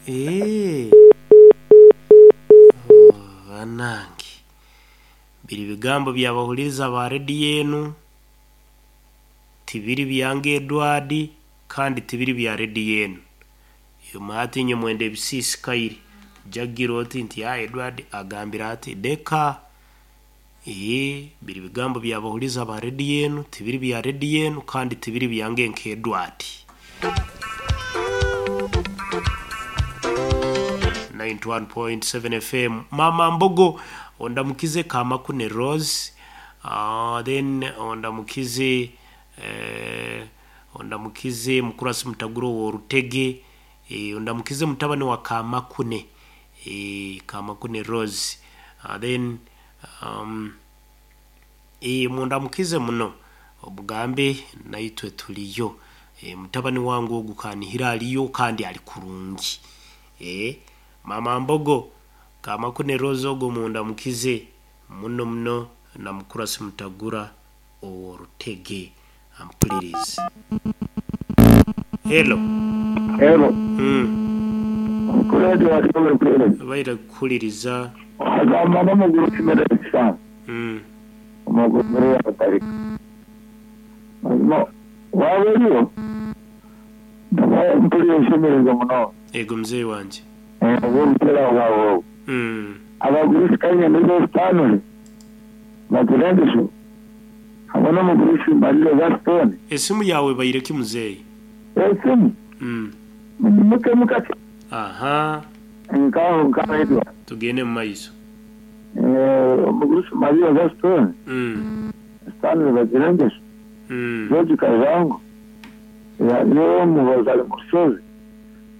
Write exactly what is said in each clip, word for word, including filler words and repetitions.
Eh. Oh, banange biri bigambo byabahuliriza ba rediyo enu, tibiri byange Edward, kandi tibiri bya rediyo enu. Imwe hati inywe mwenda ebisiisikaire, jagira oti nti ah Edward agambire ati deka. Ee, biri bigambo byabahuliriza ba rediyo enu, tibiri bya rediyo enu, kandi tibiri byange nka Edward. ninety one point seven F M. Mama Mbogo ondamukize Kamakune Rose, uh, then ondamukize eh, ondamukize Mukurasi Mutaguro wa Rutege, eh, ondamukize mutabani wa Kamakune, eh, Kamakune Rose, uh, then um, eh, mundamukize muno obugambe naitwe tuliyo, eh, mutabani wangu ogu kanihira aliyo kandi ali kurungi. Eh, Mama Mbogo Kamakune Rose ogo mundamukize muno muno na Mukurasi Mutagura Orutege ampulirize. Hello. Hello. Mm. Kuledi wa Kibwe kuledi. Baira kukuliriza. Agamba n'amaguru kimere cyane. Mm. Amaguru muri yatarika. Mazima wawe riyo. Ndabaye mpuriye shemererwa muno. Ego mzee wanje. Eh, mpera wawe. Mm. Abagurusi kanya nizo stanuli. Bakurendesho. Abona mugurusi mbalile za stone. Esimu yawe bayireki mzee. Esimu. Mm. Muke mukati. Aha. Nkaho nkaho edwa. Tugende mu maiso. Eh, mugurusi mbalile za stone. Mm. Stanley bakurendesho. Mm. George Kazango. Ya yo mubazali musozi.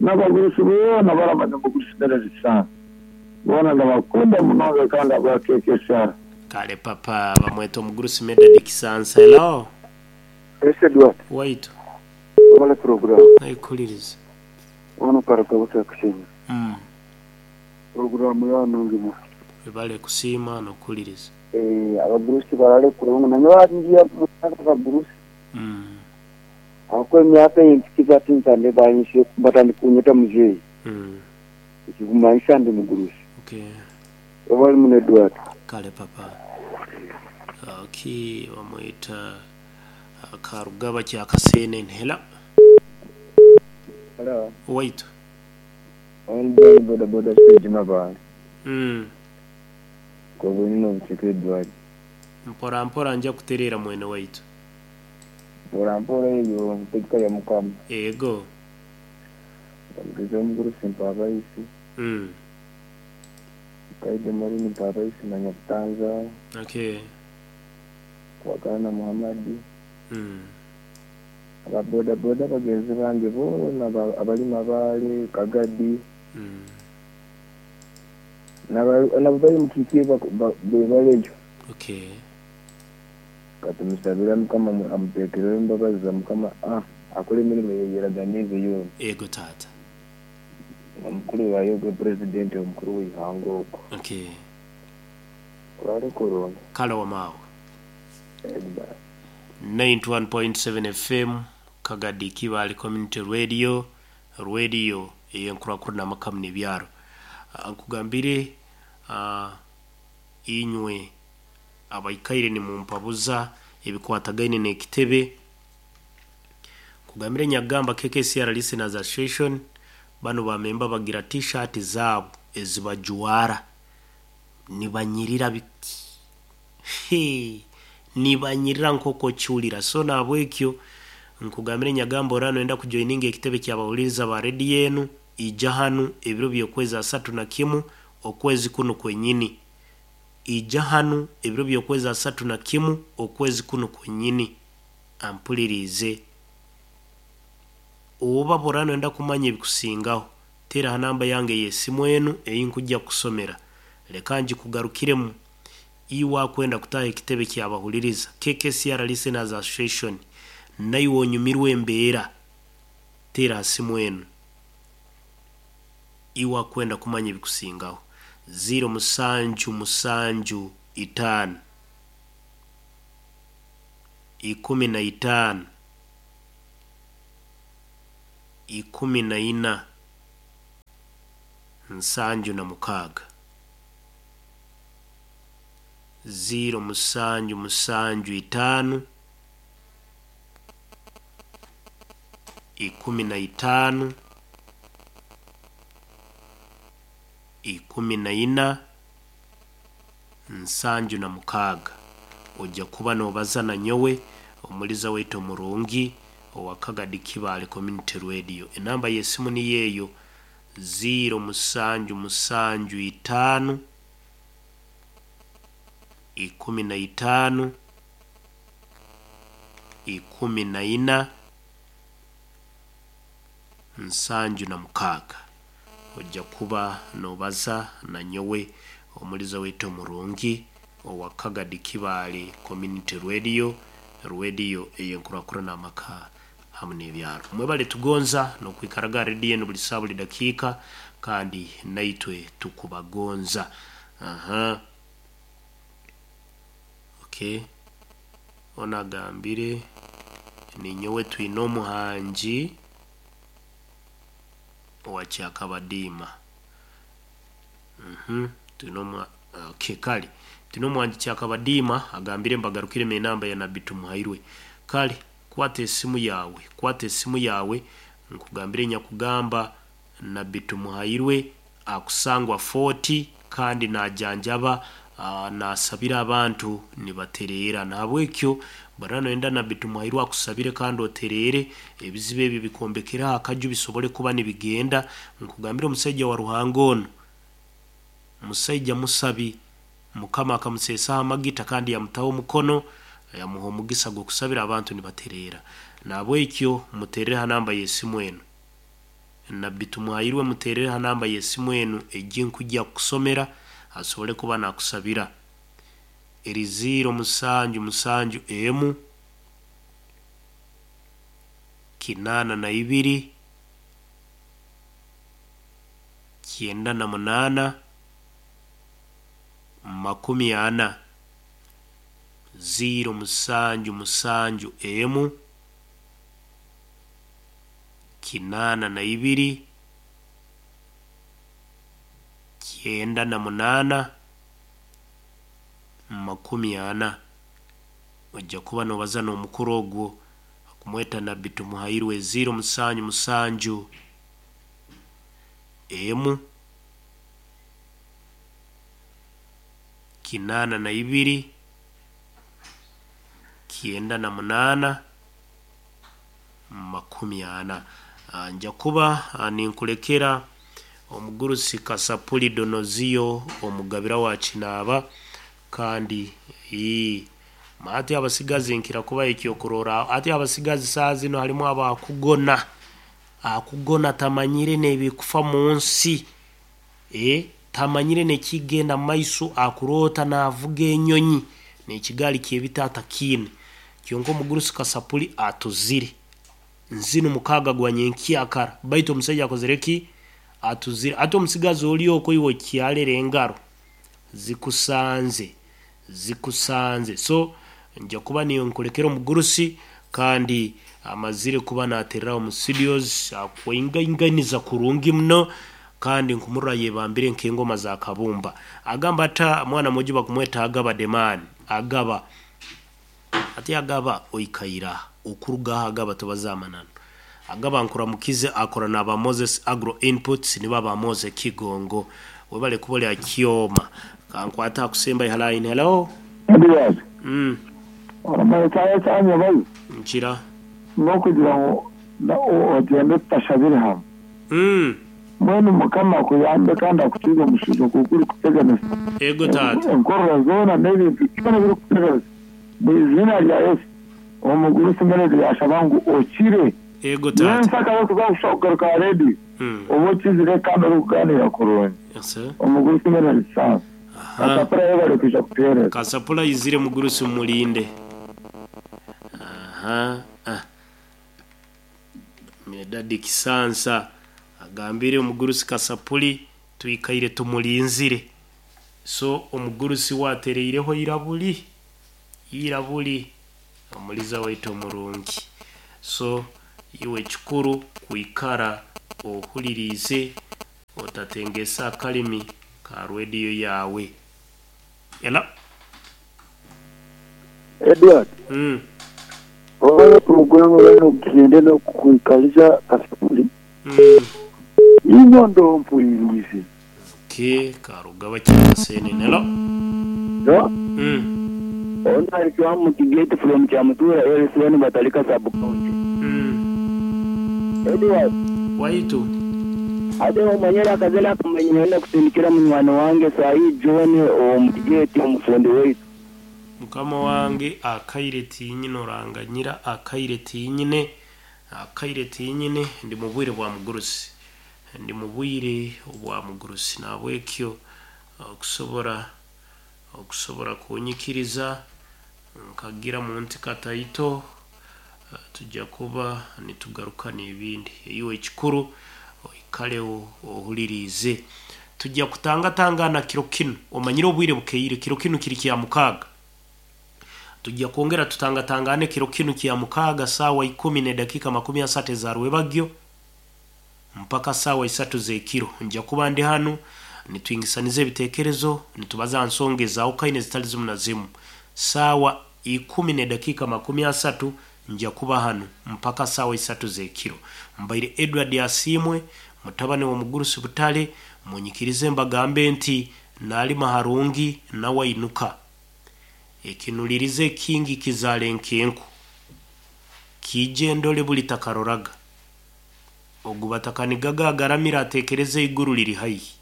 N'abagurusi bona baramaze mugurusi mbere zisana. Bona ndabakunda munonga kandi abakekesha. Kale papa bamweta omugurusi Medadi Kisansa. Hello. Ese Edward. Waitu. Wala program. Nayikuliriza. Wano karaka buta kushenya. Mm. Program ya nungi mu. Bale kusima nokuliriza. Eh, abagurusi barale kurungu na nyawa ngiya abagurusi. Mm. Akwe myaka yintikiza tinzande bayinshi batandi kunyeta mzee. Mm. Ikigumaisha ndi mugurusi. Okay. Wali mune Edward. Kale papa. Okay, bamwita Karugaba kya Kasene nhela. Hello. Waitu. On boda boda stage mabana. Mm. Kwa bwino bucheke Edward. Mpora mpora nja kuterera mwene waitu. Mpora mpora eyo ntekka ya mukama. Ego. Mugeze omugurusi mpaba isi. Mm. Kaide marini mpaba isi na Nyabutanza. Okay. Kwagana Muhammadi. Mm. Aba boda boda bagenzi bange bona abalima bale Kagadi. Mm. Nabo bali mu kikie bebalejo. Okay. Katumusabira mukama amutekerere embabazi za mukama ah akole emirimu yeraganize yona. Ego tata. Omukuru wayo gwe president omukuru w'ihanga okwo. Okay. Kurare korona. Kale wamawe. ninety one point seven F M Kagadi Kibali Community Radio, radio eyenkurakuru n'amakamu n'ebyaro. Nkugambire uh, inywe abaikaire ni mumpabuza ebikwatagaine n'ekitebe. Kugambire nyagamba K K C R Listeners Association bano bamemba bagira t-shirt zabo ezibajuwara nibanyirira biki. Hey, nibanyirira nkoko chulira. So nabwekyo nkugambire nyagamba orano enda kujoininga ekitebe ky'abawuliriza ba radio enu ija hanu ebiro by'okwezi asatu na kimu okwezi kuno kwenyini. Ija hanu ebiro by'okwezi asatu na kimu okwezi kuno kwenyini. Ampulirize. Oba borano enda kumanya ebikusingaho tera namba yange y'esimu enu eyinkujja kusomera. Leka njikugarukiremu. Iwa kwenda kutaha ekitebe ky'abahuliriza K K C R Listeners Association nayo onyumirwe embeera tera simu enu. Iwa kwenda kumanya ebikusingaho zero musanju musanju itaano ikumi na itaano ikumi na ina nsanju na mukaaga ziro musanju musanju itaano ikumi na itaano ikumi na ina nsanju na mukaaga. Ojja kuba nobaza na nyowe omuliza waitu omurungi owa Kagadi Kibaale Community Radio. Enamba y'esimu niyo eyo ziro musanju musanju itaano ikumi na itaano ikumi na ina nsanju na mukaaga. Ojja kuba nobaza na nyowe omuliza waitu omurungi owa Kagadi Kibaale Community Radio, radio ey'enkurakurana amaka hamu n'ebyaro. Mwebale tugonza n'okwikaraga rediyo enu buli saawa buli dakiika, kandi naitwe tukubagonza. Aha, okay, ono agambire ninyowe twine omuhangi owa Kyakabadiima. Mhm, twine omu okay, kale twine omuhangi Kyakabadiima agambire mbagarukire enamba ya Nabbi Tumuhairwe. Kale kwata esimu yawe, kwata esimu yawe nkugambire nyakugamba Nabbi Tumuhairwe akusangwa forty kandi najanjaba uh, nasabira abantu nibatereera. Nahabwekyo bwana noyenda Nabbi Tumuhairwe akusabire kandi otereere ebizibu ebyo bikombekera akaju bisobole kuba nibigenda. Nkugambire omusajja wa Ruhanga ono musajja musabi, Mukama akamuseesaho amagita kandi yamutaho omukono yamuha omugisa gw'okusabira abantu nibatereera. Nahabwekyo muterere ha namba y'esimu enu Nabbi Tumuhairwe, muterere ha namba y'esimu enu ejja nkujja kukusomera asobole kuba nakusabira. Eri ziro musanju musanju emu kinaana na ibiri kyenda na munaana makumi ana. Ziro musanju musanju emu kinaana na ibiri kyenda na munaana makumi ana. Ojja kuba nobaza n'omukuru ogwo akumweta Nabbi Tumuhairwe. Ziro musanju musanju emu kinaana na ibiri kyenda na munaana makumi ana. Nja kuba ninkulekera omugurusi Kasapuli Donoziyo omugabira wa Kinaaba. Kandi ii ate abasigazi nkira kuba ekyokurora ate abasigazi saa zino halimu abakugona akugona tamanyire n'ebikufa mu nsi e tamanyire nekigenda maiso akuroota n'avuga enyonyi n'ekigaali kyebitaata kiine. Kyonka omugurusi Kasapuli atuzire nzino mukaaga gwa nyenkyakara, baitu omusajja akozere ki? Atuzire. Ate omusigazi oli okwo iwe kyalera engaro zikusanze zikusanze. So nja kuba niyo nkulekera omugurusi kandi amazire kuba naterera omu studios akwaingainganiza kurungi muno kandi nkumurra yebambire nk'engoma za kabumba. Agamba ata mwana muji bakumweta Agaba Demani. Agaba ati Agaba oikaira okuruga Agaba tubazamanano. Agaba nkuramukize akora n'aba Moses Agro Inputs niba ba Moses Kigongo webale kubolya kyoma kankwata akusemba line. Hello Ndiyazi mm oramara cyane cyane bayi nkira no kugira ngo ogende tutashabire hamwe mm mwene Mukama akuyambe kandi akukize omushizo kuko uri kuteganisa ego tata enkorora zoona n'ebintu byona biri kuteganisa mu izina rya Yesu omugurusi mbere yashaba ngu okire ego tata nensaka yo kuza kugaruka redi mm oba okizire kandi ori kuganira kurungi yes omugurusi mbere lisansi aha Kasapura yebale kuja kutuhereza Kasapula izire mugurusi mulinde. Aha ah Medadi Kisansa agambire omugurusi Kasapuli twikaire tumulinzire. So omugurusi watereireho irabuli irabuli omuliza waitu omurungi. So iwe kikuru kwikara ohulirize Otatengesa akalimi ka rediyo yawe. Ela. Edward. Mm. Oyo programu bano kugende n'okukwikaliza kasuli. Mm. Inyo ndo mpulirize. Okay, karugaba kyasene nelo. No? Mm. Ono alikuwa mu Kigete from Chamutura L C one Batalika sub county. Mm. Edward. Waitu. Ate omanyera akazela akamanyira kusindikira munywani wange sahi John omukigete omufundi waitu. Mukama wange akaire tinyine oranganyira akaire tinyine akaire tinyine ndi mu bwire bwa mugurusi, ndi mu bwire bwa mugurusi, nabwekyo okusobora okusobora kunyikiriza nkagira mu nti kataito tujja kuba nitugaruka n'ebindi. Iwe ekikuru oikaleho ohulirize. Tujja kutangatangana kiro kinu, omanyire obwire bukeire, kiro kinu kiri kya mukaaga. Tujja kwongera tutangatangane kiro kinu kya mukaaga sawa ikumi ne dakika makumi asatu za rwebagyo mpaka sawa isatu z'ekiro. Nja kuba ndi hano nitwingisanize ebitekerezo, nitubaza nsonga ezawukaine zitali zimu na zimu. Sawa ikumi ne dakika makumi asatu nja kuba hano mpaka sawa isatu z'ekiro. Mbaire Edward Asimwe mutabani wa Mugurusi Butale, munyikirize mbagambe nti nalima harungi nawainuka. Ekinulirize kingi kizale nkenku kije ndole buli takaroraga ogubatakanigaga agaramira atekereze iguru liri haihi.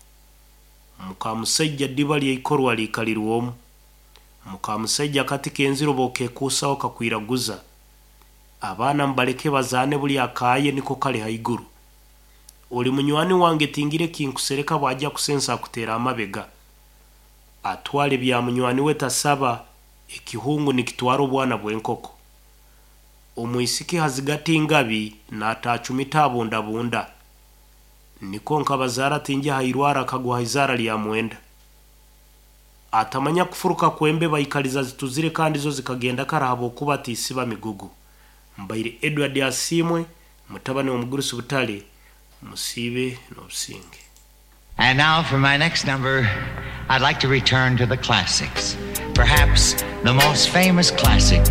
Mukamusajja ddiba lyeikorwa likalirwomu, mukamusajja kati kenziro bokekuusaho kakwiraguza. Abaana mbaleke bazaane buli akaaye niko kali haiguru. Oli munywani wange tingire kinkusereka bwajja kusensa akuteera amabega. Atwale bya munywani we tasaba, ekihungu nikitwara obwana bw'enkoko. Omwisiki hazigati ngabi n'atachumita abundabunda. Niko nkabazaara tinja hairwara akagwa haizara lya mwenda. Atamanya kufuruka kwembe baikaliza zituzire kandi zo zikagenda karahaba okuba tisiba migugu. Mbaire Edward Asimwe mutabani wa Mugurusi Butale, musibe n'obusinge. And now for my next number, I'd like to return to the classics. Perhaps the most famous classic